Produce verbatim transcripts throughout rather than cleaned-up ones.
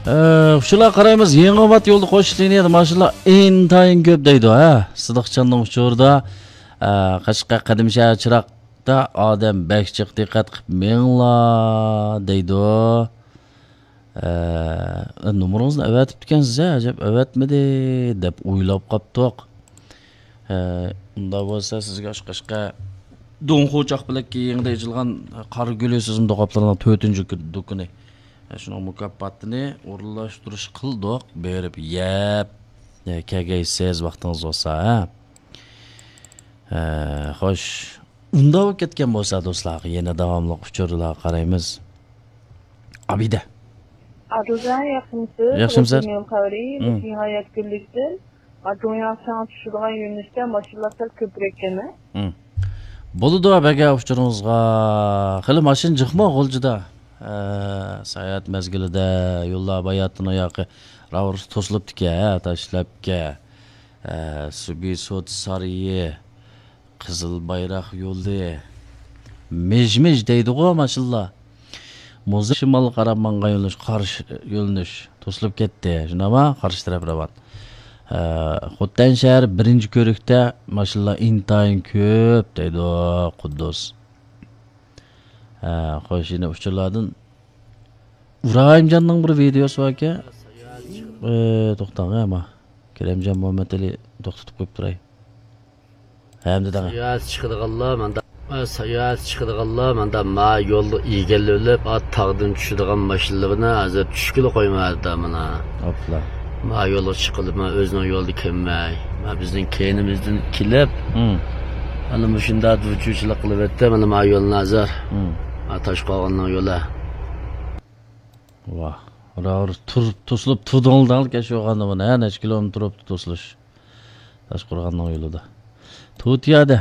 ئۇچۇرلارغا قارايمىز. يېڭىئابات يولدا قوش لىنىيەدە ماشىنىلار ئىنتايىن كۆپ دەيدۇ، ھە. سىدىقجاننىڭ ئۇچۇرىدا، ئە، قەشقەر قەدىمشەھەر چىراغدا ئادەم بەك جىق، دىققەت قىلىپ مېڭىڭلار دەيدۇ. ئە، نومۇرىڭىزنى ئەۋەتىپتىكەنسىز، ھە، ئەجەب ئەۋەتمىدى دەپ ئويلاپ قاپتۇق. ئە، ئۇنداق بولسا سىزگە ئاشۇ قەشقەر دۇڭخۇ چاقپەلەككە يېڭىدا ئېچىلغان قارا گۈلى سىزما دوقاپلىرىنىڭ تۆتىنچى دۇكىنى. ئە، شۇنىڭ مۇكاپاتىنى ئورۇنلاشتۇرۇش قىلدۇق. بېرىپ يەپ، ئە، كەلگەيسىز ۋاقتىڭىز بولسا، ھە؟ ئە، خوش. ئۇنداق بولۇپ كەتكەن بولسا، دوستلار، يەنە داۋاملىق ئۇچۇرلارغا قارايمىز. ئابىدە. ئادىلجان، ياخشىمۇسىز؟ ياخشىمۇسىز؟ يول خەۋىرى، مم. نىھايەت كۈنلۈكتىن. ما دۇنيا ساڭا چۈشىدىغان يۆنىلىشتە ماشىنىلار سەل كۆپرەككەن، ھە؟ مم. بولىدۇ، بەگە ئۇچۇرىڭىزغا. خېلى ماشىنا جىقمۇ غۇلجىدا؟ ئە، ساياھەت مەزگىلىدە يوللار باياتىنىڭ ياقى راۋۇرۇس توسۇلۇپتىكەن، ھە، تاشلاپكە. ئە، سۇبىسوت سارىيى. قىزىل بايراق يولى، مىژ-مىژ دەيدىغۇ ماشىنىلار. موزا شىمالغا قاراپ ماڭغان يۆنىلىش، قارشى يۆنىلىش توسۇلۇپ كەتتى. شۇنداقما؟ قارشى تەرەپ راۋان. ئە، خوتەن شەھەر بىرىنچى كۆرۈكتە ماشىنىلار ئىنتايىن كۆپ دەيدۇ قۇددۇس. ئە، خوش، يەنە ئۇچۇرلاردىن ئىبراھىمجاننىڭ بىر ۋىدېئوسى باركەن. ئە، توختاڭ، ئەمما كېرەمجان مۇھەممەتئېلى توختىتىپ قويۇپ تۇراي. ھەمدە دەڭە. ساياھەت چىقىدىغانلار ماندا، ساياھەت چىقىدىغانلار ماندا ما يولدا ئىگىلىۋېلىپ، ئا تاغدىن چۈشىدىغان ماشىنىلىرىنى ھازىر چۈشكىلى قويمايدۇ مانا. ئاپلا. ما يولغا چىقىلىپ، ما ئۆزىنىڭ يولىدا كەلمەي، ما بىزنىڭ كەينىمىزدىن كېلىپ، مم. ئەنە مۇشۇنداق دۇچۇچىلىق قىلىۋەتتى، مانا ما يولنى ھازىر. مم. ما تاشقورغاننىڭ يولى. ۋاھ. راۋۇر تۇرۇپ، توسۇلۇپ تۇردۇڭلار دەڭلىكەن شۇ غاندا مانا، ھە، نەچچە كىلومېتىر بولۇپتۇ توسۇلۇش. تاشقورغاننىڭ يولىدا. تۇتىيادە.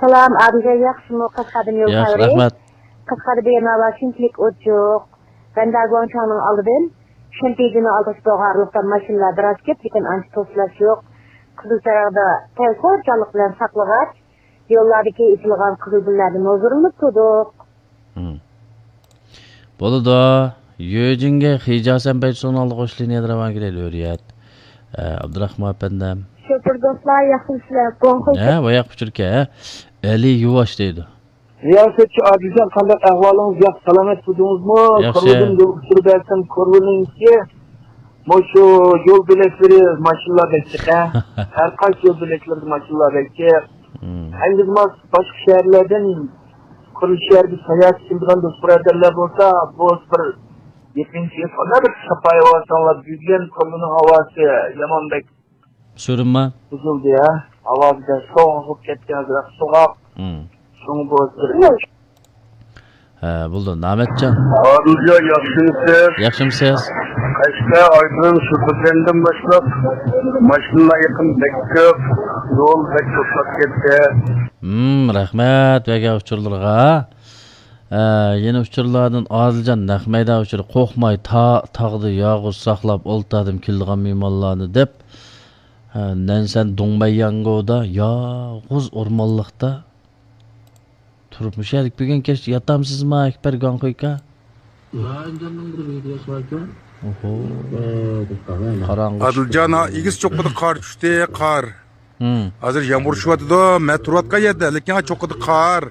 سالام، ئابىلجان ياخشىمۇ؟ قەشقەردىن يول ياخشى، خەۋىرى. رەھمەت. قەشقەردە بۇ يەرلەر شۇنچىلىك ئوت يوق. بەندە گۇاڭچاڭنىڭ ئالدىدىن شېنتىجىنىڭ ئالدىغىچە بولغان ئارىلىقتا ماشىنىلار بىراز كۆپ، لېكىن ئانچە توسۇلۇش يوق. قىزىل چىراغدا تەلتۆرجانلىق بىلەن ساقلىغاچ، يوللاردىكى ئېچىلغان قىزىل گۈللەردىن ھۇزۇرلىنىپ تۇردۇق. مم. بولىدۇ. يۆجىنگە خىجاسەن بەيتسۇنىڭ ئالدىغا قوش لىنىيەدە راۋان كېلەيدۇ، ھۆرىيەت. ئە، ئابدۇراخمان ئەپەندىم. شوپۇر دوستلار، ياخشىمۇسىلەر؟ گۇاڭخۇي. ھە، باياق ئۇچۇركەن، ھە؟ ئەلى يۇۋاش دەيدۇ. رىياسەتچى ئادىلجان، قانداق ئەھۋالىڭىز؟ ياخشى، سالامەت تۇردىڭىزمۇ؟ ياخشى. كورلىدىن يول ئۇچۇرى بەرسەم، كورلىنىڭكى مۇشۇ يول بۆلەكلىرى ماشىنىلار بەك جىق، ھە؟ ھەر قايسى يول بۆلەكلىرىدە ماشىنىلار بەك جىق. مم. ئەنگىزماس باشقا شەھەرلەردىن قۇرۇلۇش شەھىرىگە ساياھەتكە كېلىدىغان دوست بۇرادەرلەر بولسا، بۇ بىر يېقىنچى يىل بىر ساپايى ھاۋاسىڭلار بۈگۈن كورلىنىڭ ھاۋاسى يامان بەك سۈرۈنمە. بۇزۇلدى، ھە؟ ھاۋاسى بەك سوغۇق بولۇپ كەتكەن، ئازراق سوغۇق. مم. شۇڭا بۇ بىر ھە، بولدى، نامەتجان. ئادىلجان، ياخشىمۇسىز؟ ياخشىمۇسىز؟ قەشقەر ئايرودروم شۇ بىردەمدىن باشلاپ ماشىنىلار يېقىن بەك كۆپ، يول بەك توسۇلۇپ كەتتى. ھىم، رەھمەت بەرگەن ئۇچۇرلىرىغا. ئە، يەنە ئۇچۇرلاردىن ئادىلجان نەق مەيدان ئۇچۇرى، قورقماي تا-، تاغدا يالغۇز ساقلاپ ئولتۇردۇم كېلىدىغان مېھمانلارنى دەپ. ئە، نەنسەن دۇڭمەيياڭگودا يالغۇز ئورمانلىقتا تۇرۇپ، مۇشۇ يەردە بۈگۈن كەچ ياتامسىزما، ئەكبەر گاڭخۇيكا؟ ئوھو. قاراڭغۇ ئادىلجان، چۈشتى. ھا، ئېگىز چوققىدا قار چۈشتى، قار. ھىم. ھازىر يامغۇر چۈشۈۋاتىدۇ، مەن تۇرۇۋاتقان يەردە، لېكىن ھا چوققىدا قار.